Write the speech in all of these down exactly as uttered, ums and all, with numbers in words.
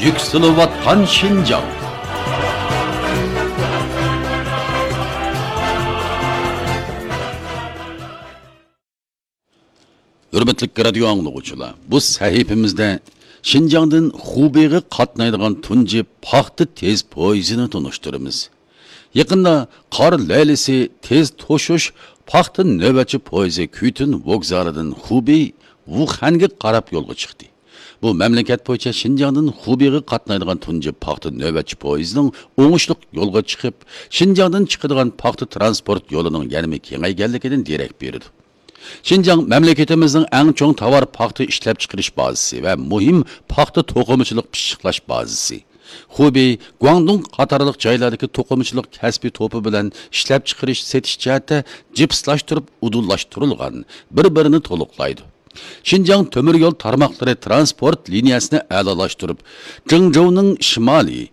يۈكسىلىۋاتقان شىنجاڭ. ھۆرمەتلىك رادىيو ئاڭلىغۇچىلار، بۇ سەھىپىمىزدە شىنجاڭدىن خۇبېيغا قاتنايدىغان تۇنجى پاختا تېز پويىزىنى تونۇشتۇرىمىز. يېقىندا قار لەيلىسى تېز توشۇش پاختا نۆۋەتچى پويىزى كۈيتۈن ۋوگزالىدىن خۇبېي، ۋۇخەنگە قاراپ يولغا چىقتى. بۇ مەملىكەت بويىچە شىنجاڭدىن خۇبېيغا قاتنايدىغان تۇنجى پاختا نۆۋەتچى پويىزىنىڭ ئوڭۇشلۇق يولغا چىقىپ، شىنجاڭدىن چىقىدىغان پاختا تىرانسپورت يولىنىڭ يەنىمۇ كېڭەيگەنلىكىدىن دېرەك بېرىدۇ. شىنجاڭ مەملىكىتىمىزنىڭ ئەڭ چوڭ تاۋار پاختا ئىشلەپچىقىرىش بازىسى ۋە مۇھىم پاختا توقۇمىچىلىق پىششىقلاش بازىسى. خۇبېي، گۇاڭدۇڭ قاتارلىق جايلاردىكى توقۇمىچىلىق كەسپىي توپى بىلەن ئىشلەپچىقىرىش، سېتىش جەھەتتە جىپسلاشتۇرۇپ ئۇدۇللاشتۇرۇلغان، بىر-بىرىنى تولۇقلايدۇ. شىنجاڭ تۆمۈر يول تارماقلىرى تىرانسپورت لىنىيەسىنى ئەلالاشتۇرۇپ، جېڭجوۋنىڭ شىمالىي،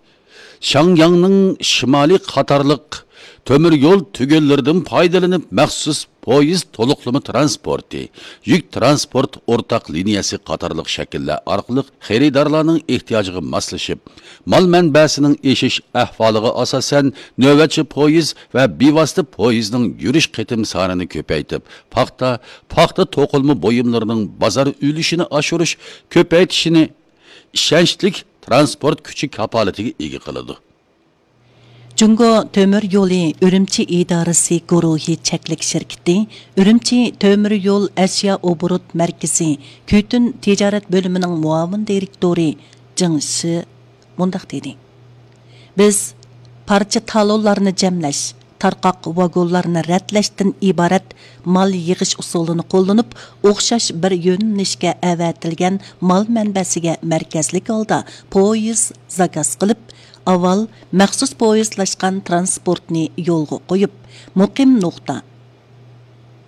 شياڭياڭنىڭ شىمالىي قاتارلىق تۆمۈر يول تۈگۈنلىرىدىن پايدىلىنىپ، مەخسۇس پويىز تولۇقلىما تىرانسپورتى، يۈك تىرانسپورت ئورتاق لىنىيەسى قاتارلىق شەكىللەر ئارقىلىق خېرىدارلارنىڭ ئېھتىياجىغا ماسلىشىپ، مال مەنبەسىنىڭ ئېشىش ئەھۋالىغا ئاساسەن، نۆۋەتچى پويىز ۋە بىۋاسىتە پويىزنىڭ يۈرۈش قېتىم سانىنى كۆپەيتىپ، پاختا، پاختا توقۇلما بۇيۇملىرىنىڭ بازار ئۈلۈشىنى ئاشۇرۇش، كۆپەيتىشىنى ئىشەنچلىك تىرانسپورت كۈچى كاپالىتىگە ئىگە قىلىدۇ. جۇڭگو تۆمۈر يولى ئۈرۈمچى ئىدارىسى گۇرۇھى چەكلىك شىركىتى ئۈرۈمچى تۆمۈر يول ئەشيا ئوبوروت مەركىزى كۈيتۈن تىجارەت بۆلۈمىنىڭ مۇئاۋىن دىرېكتورى جېڭ شى مۇنداق دېدى: بىز پارچە تالونلارنى جەملەش، تارقاق ۋاگونلارنى رەتلەشتىن ئىبارەت مال يىغىش ئۇسۇلىنى قوللىنىپ، ئوخشاش بىر يۆنىلىشكە ئەۋەتىلگەن مال مەنبەسىگە مەركەزلىك ھالدا پويىز زاكاز قىلىپ، ئاۋۋال مەخسۇس پويىزلاشقان تىرانسپورتنى يولغا قويۇپ، مۇقىم نۇقتا،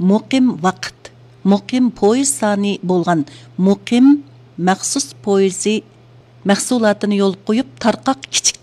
مۇقىم ۋاقىت، مۇقىم پويىز سانى بولغان مۇقىم مەخسۇس پويىزى مەھسۇلاتىنى يولغا قويۇپ، تارقاق كىچىك